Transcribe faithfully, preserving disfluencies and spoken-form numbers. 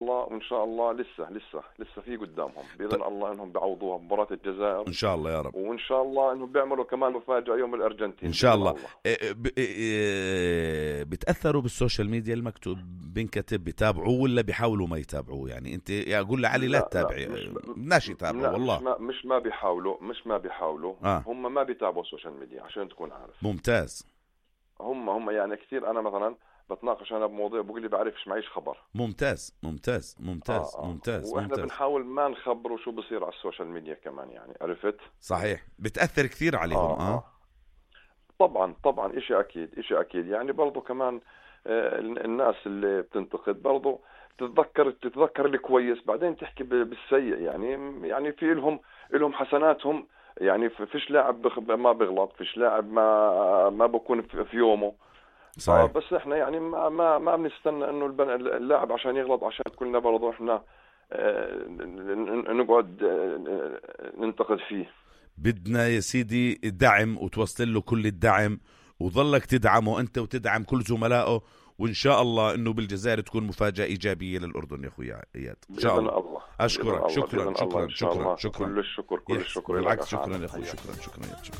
الله وإن شاء الله لسه لسه لسه في قدامهم بإذن الله إنهم بيعوضوها بمباراة الجزائر إن شاء الله يا رب. وإن شاء الله إنهم بيعملوا كمان مفاجأة يوم الأرجنتين إن شاء الله, الله. إيه ب... إيه بتأثروا بالسوشيال ميديا المكتوب بنكتب بيتابعوه ولا بيحاولوا ما يتابعوه؟ يعني أنت يا أقول لعلي لا, لا تتابعي ماشي تابعوا والله مش ما, مش ما بيحاولوا مش ما بيحاولوا آه. هم ما بيتابعوا السوشيال ميديا عشان تكون عارف. ممتاز. هم هم يعني كثير أنا مثلا بتناقش أنا بموضوع بقول لي بعرفش معيش خبر. ممتاز ممتاز ممتاز آه آه. ممتاز وإحنا ممتاز. بنحاول ما نخبروا شو بصير على السوشيال ميديا كمان يعني عرفت. صحيح بتأثر كثير عليهم. آه, آه. آه. طبعا طبعا إشي أكيد إشي أكيد يعني برضو كمان آه الناس اللي بتنتقد برضو تتذكر تتذكر الكويس بعدين تحكي بالسيء يعني يعني في لهم لهم حسناتهم يعني فيش لاعب ما بيغلط فيش لاعب ما ما بكون في يومه. صحيح. بس احنا يعني ما ما ما بنستنى انه اللاعب عشان يغلط عشان كلنا برضه احنا اه نقعد اه ننتقد فيه. بدنا يا سيدي دعم وتوصل له كل الدعم وظلك تدعمه انت وتدعم كل زملائه وان شاء الله انه بالجزائر تكون مفاجأة ايجابية للأردن يا اخويا اياد ان شاء الله. الله. اشكرك شكرا شكرا شكرا كل الشكر كل الشكر بالعكس شكرا يا اخوي شكرا شكرا شكرا.